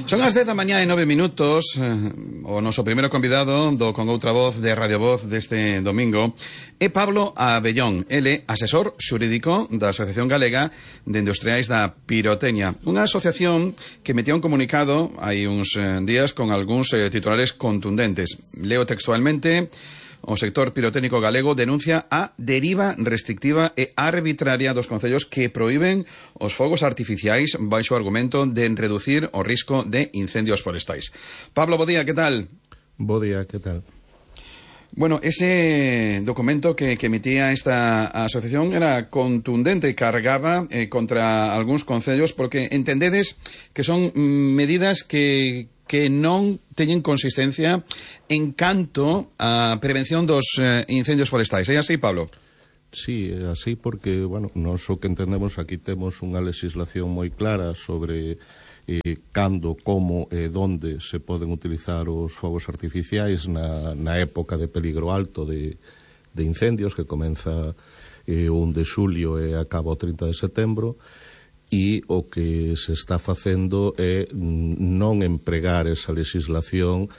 Son as 10 da mañá e 9 minutos. O noso primeiro convidado do Con Outra Voz de Radio Voz deste domingo é Pablo Abellón. Ele é asesor xurídico da Asociación Galega de Industriais da Pirotecnia, unha asociación que metía un comunicado hai uns días con algúns titulares contundentes. Leo textualmente: o sector pirotécnico galego denuncia a deriva restrictiva e arbitraria dos concellos que proíben os fogos artificiais baixo o argumento de reducir o risco de incendios forestais. Pablo, bo día, que tal? Bo día, que tal? Bueno, ese documento que emitía esta asociación era contundente e cargaba contra algúns concellos porque entendedes que son medidas que non teñen consistencia en canto a prevención dos incendios forestais. É así, Pablo? Sí, é así porque, bueno, nós o que entendemos aquí temos unha legislación moi clara sobre cando, como e donde se poden utilizar os fogos artificiais na época de peligro alto de incendios que comeza o 1 de xulio e acaba o 30 de setembro. E o que se está facendo é non empregar esa legislación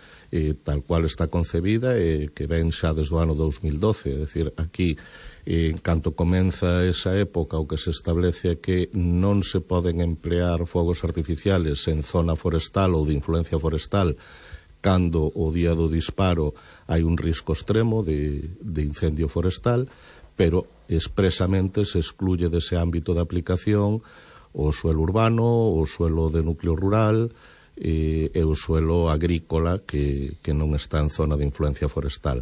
tal cual está concebida e que ven xa desde o ano 2012. É dicir, aquí, en canto comeza esa época, o que se establece é que non se poden emplear fogos artificiales en zona forestal ou de influencia forestal cando o día do disparo hai un risco extremo de incendio forestal, pero expresamente se excluye dese ámbito de aplicación o suelo urbano, o suelo de núcleo rural e o suelo agrícola que non está en zona de influencia forestal.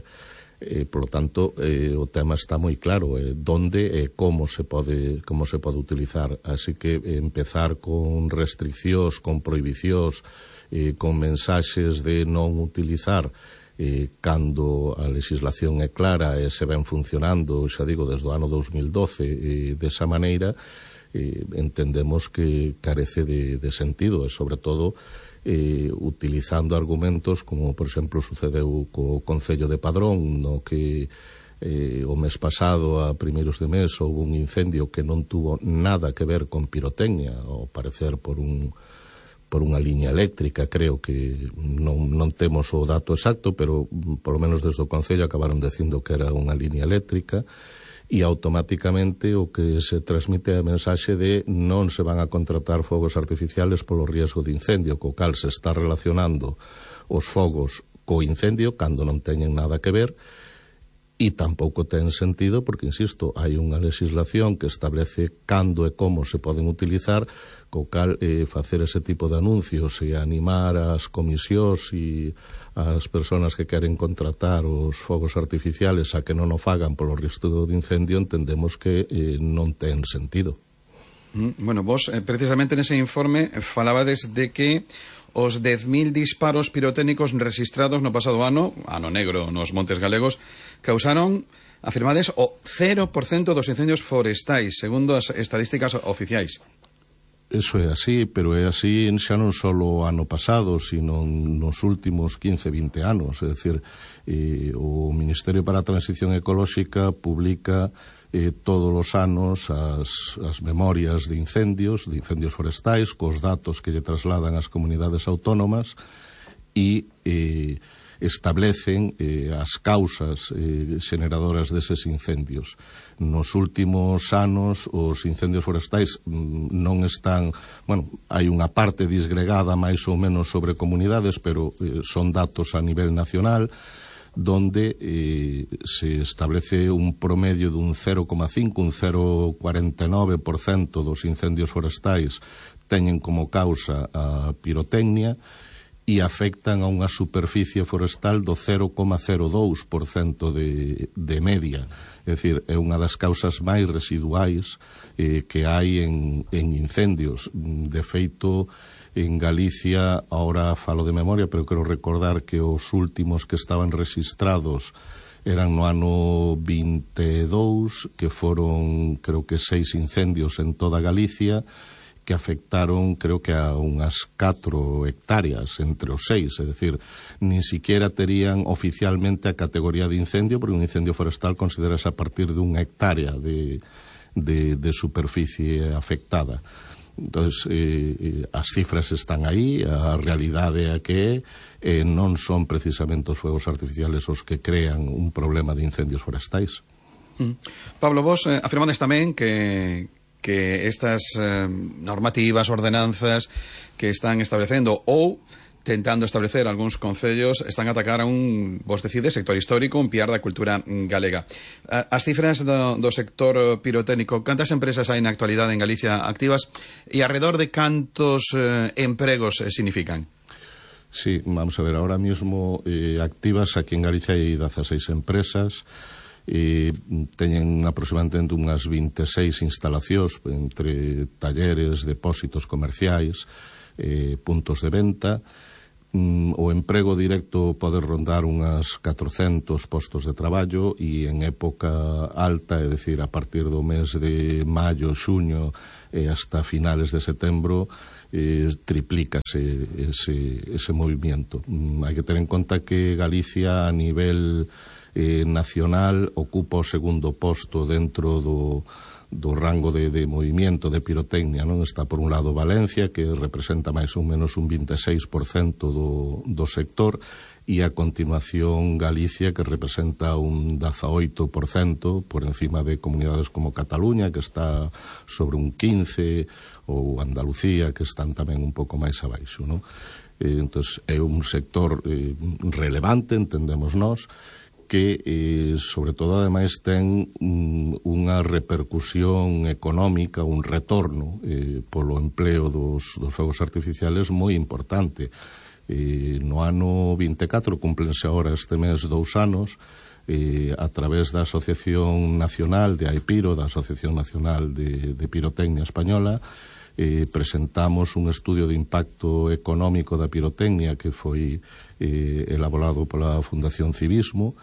Por lo tanto, o tema está moi claro, donde e como se pode utilizar. Así que empezar con restriccións, con prohibicións, con mensaxes de non utilizar cando a legislación é clara e se ven funcionando, xa digo, desde o ano 2012 desa maneira, entendemos que carece de sentido e, sobre todo, utilizando argumentos como, por exemplo, sucedeu co Concello de Padrón, no que o mes pasado, a primeiros de mes, houve un incendio que non tuvo nada que ver con pirotecnia, ao parecer por unha liña eléctrica. Creo que non temos o dato exacto, pero por lo menos desde o Concello acabaron dicindo que era unha liña eléctrica. E automáticamente o que se transmite é a mensaxe de non se van a contratar fogos artificiales polo riesgo de incendio, co cal se está relacionando os fogos co incendio cando non teñen nada que ver, e tampouco ten sentido porque, insisto, hai unha legislación que establece cando e como se poden utilizar, co cal facer ese tipo de anuncios e animar as comisións e as persoas que queren contratar os fogos artificiales a que non o fagan polo risco de incendio, entendemos que non ten sentido. Bueno, vos precisamente nese informe falabades de que os 10.000 disparos pirotécnicos registrados no pasado ano negro nos montes galegos, causaron, afirmades, o 0% dos incendios forestais, segundo as estadísticas oficiais. Eso é así, pero é así xa non só o ano pasado, sino nos últimos 15, 20 anos. É dicir, o Ministerio para a Transición Ecolóxica publica todos os anos as memorias de incendios forestais, cos datos que lle trasladan as comunidades autónomas e establecen as causas generadoras deses incendios. Nos últimos anos os incendios forestais non están, bueno, hai unha parte disgregada máis ou menos sobre comunidades, pero son datos a nivel nacional, donde se establece un promedio dun 0,5, un 0,49% dos incendios forestais teñen como causa a pirotecnia e afectan a unha superficie forestal do 0,02% de media. É dicir, é unha das causas máis residuais que hai en incendios. De feito, en Galicia, ahora falo de memoria, pero quero recordar que os últimos que estaban registrados eran no ano 22, que foron, creo que 6 incendios en toda Galicia, que afectaron, creo que a unhas 4 hectáreas entre os 6, é dicir, nin siquiera terían oficialmente a categoría de incendio, porque un incendio forestal considerase a partir de 1 hectárea de superficie afectada. Entonces, as cifras están aí, a realidade é que non son precisamente os fogos artificiales os que crean un problema de incendios forestais. Pablo, vos afirmades tamén que estas normativas, ordenanzas que están establecendo ou tentando establecer algúns concellos están a atacar a vos decides, sector histórico, un piar da cultura galega. As cifras do sector pirotécnico, cantas empresas hai na actualidade en Galicia activas e alrededor de cantos empregos significan? Sí, vamos a ver, ahora mismo activas aquí en Galicia hai 16 empresas, teñen aproximadamente unhas 26 instalacións entre talleres, depósitos comerciais, puntos de venta. O emprego directo pode rondar unhas 400 postos de traballo e en época alta, é dicir, a partir do mes de maio, xuño e hasta finales de setembro, triplícase ese movimiento. Hai que ter en conta que Galicia a nivel nacional ocupa o segundo posto dentro do rango de movimiento de pirotecnia, non? Está por un lado Valencia, que representa máis ou menos un 26% do sector, e a continuación Galicia, que representa un 18% por encima de comunidades como Cataluña, que está sobre un 15%, ou Andalucía, que están tamén un pouco máis abaixo, non? Entón, é un sector relevante, entendemos nós, que, sobre todo, ademais, ten unha repercusión económica, un retorno polo empleo dos fogos artificiales moi importante. No ano 24, cúmplense agora este mes 2 anos, a través da Asociación Nacional de AIPIRO, da Asociación Nacional de Pirotecnia Española, presentamos un estudio de impacto económico da pirotecnia que foi elaborado pola Fundación Civismo,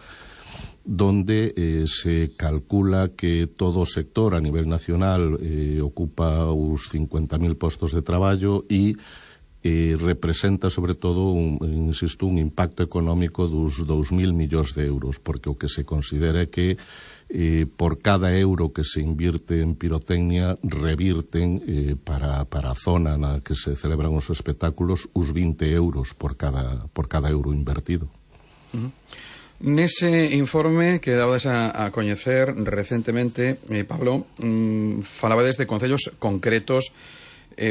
donde se calcula que todo o sector a nivel nacional ocupa os 50.000 postos de traballo e representa sobre todo un impacto económico dos 2.000 millóns de euros, porque o que se considera é que por cada euro que se invirte en pirotecnia revirten para a zona na que se celebran os espectáculos os 20 euros por cada euro invertido. Nese informe que dabades a coñecer recentemente, Pablo, falabades de concellos concretos,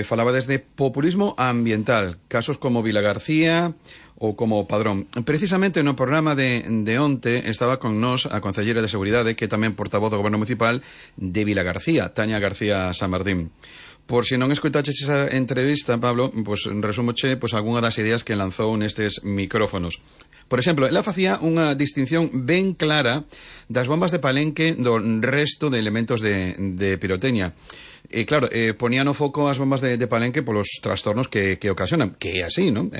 falabades de populismo ambiental, casos como Vilagarcía ou como Padrón. Precisamente no programa de onte estaba con nós a concelleira de Seguridade, que é tamén portavoz do Goberno Municipal de Vilagarcía, Tania García San Martín. Por si non escoitaches esa entrevista, Pablo, pues resúmoche algunha das ideas que lanzou nestes micrófonos. Por exemplo, ela facía unha distinción ben clara das bombas de palenque do resto de elementos de pirotecnia. E claro, ponía no foco as bombas de palenque polos trastornos que ocasionan, que é así, non?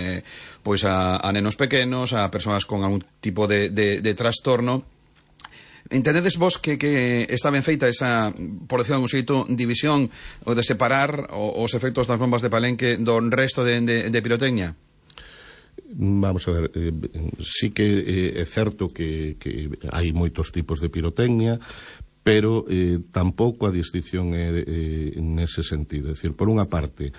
Pois a nenos pequenos, a persoas con algún tipo de trastorno. Entendedes vos que está ben feita esa, por decirlo de algún xeito, división ou de separar os efectos das bombas de palenque do resto de pirotecnia? Vamos a ver, sí que é certo que hai moitos tipos de pirotecnia, pero tampouco a distinción é nese sentido. É dicir, por unha parte,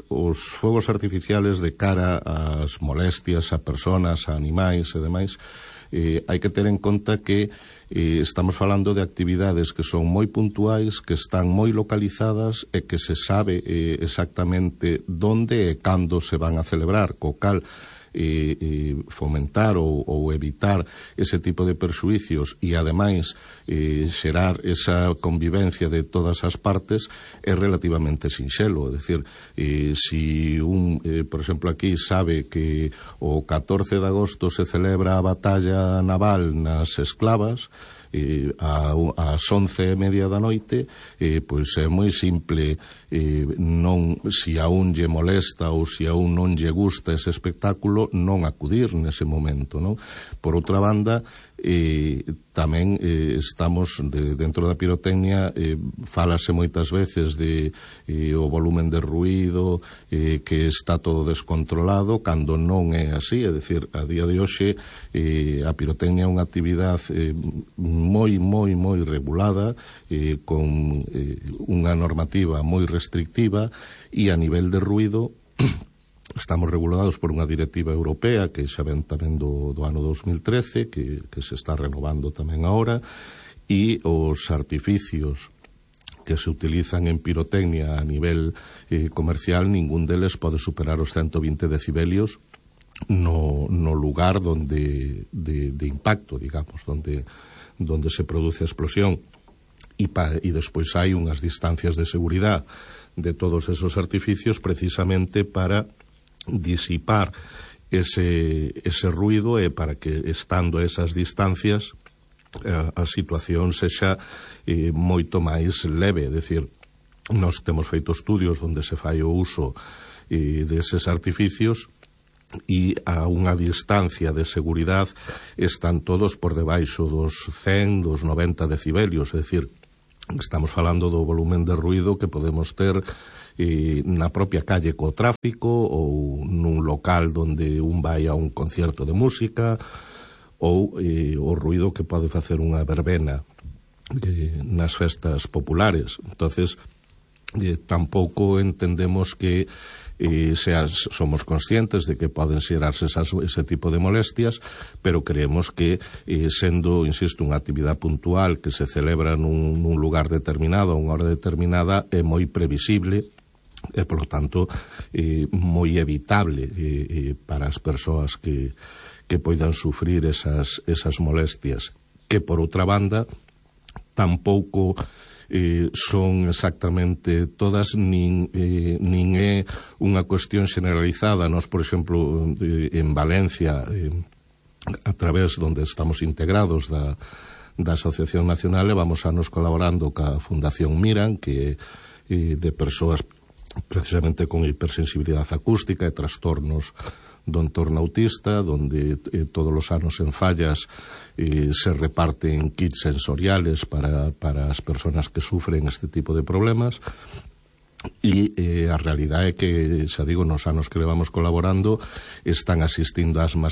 os fogos artificiales de cara ás molestias a persoas, a animais e demais, hai que ter en conta que estamos falando de actividades que son moi puntuais, que están moi localizadas e que se sabe exactamente onde e cando se van a celebrar, co cal fomentar ou evitar ese tipo de perxuicios e ademais xerar esa convivencia de todas as partes é relativamente sinxelo. É dicir, si por exemplo, aquí sabe que o 14 de agosto se celebra a batalla naval nas Esclavas, ás 11:30 da noite, pois é moi simple, non, si a un lle molesta ou si a un non lle gusta ese espectáculo, non acudir nese momento, non? Por outra banda, tamén estamos dentro da pirotecnia, fálase moitas veces de o volumen de ruído, que está todo descontrolado, cando non é así. É dicir, a día de hoxe a pirotecnia é unha actividade moi regulada, con unha normativa moi restrictiva, e a nivel de ruído estamos regulados por unha directiva europea que xa ven tamén do ano 2013, que se está renovando tamén agora, e os artificios que se utilizan en pirotecnia a nivel comercial, ningún deles pode superar os 120 decibelios no lugar de impacto, digamos, donde se produce a explosión. E despois hai unhas distancias de seguridade de todos esos artificios precisamente para disipar ese ruido, e para que, estando a esas distancias, a situación sexa moito máis leve. É dicir, nós temos feito estudios onde se fai o uso deses artificios, e a unha distancia de seguridade están todos por debaixo dos 100, dos 90 decibelios. É dicir, estamos falando do volumen de ruido que podemos ter na propia calle co tráfico, ou nun local donde un vai a un concierto de música, ou o ruido que pode facer unha verbena nas festas populares. Entonces, tampouco entendemos que somos conscientes de que poden xerarse ese tipo de molestias, pero creemos que, sendo, insisto, unha actividade puntual que se celebra nun lugar determinado a unha hora determinada, é moi previsible e, polo tanto, moi evitable para as persoas que poidan sufrir esas molestias, que, por outra banda, tampouco son exactamente todas, nin é unha cuestión generalizada. Nós, por exemplo, en Valencia, a través donde estamos integrados da Asociación Nacional, vamos anos colaborando ca Fundación Miran, que de persoas precisamente con hipersensibilidade acústica e trastornos do entorno autista, donde todos os anos en Fallas se reparten kits sensoriales para as persoas que sufren este tipo de problemas. E a realidade é que, xa digo, nos anos que levamos colaborando, están asistindo asmas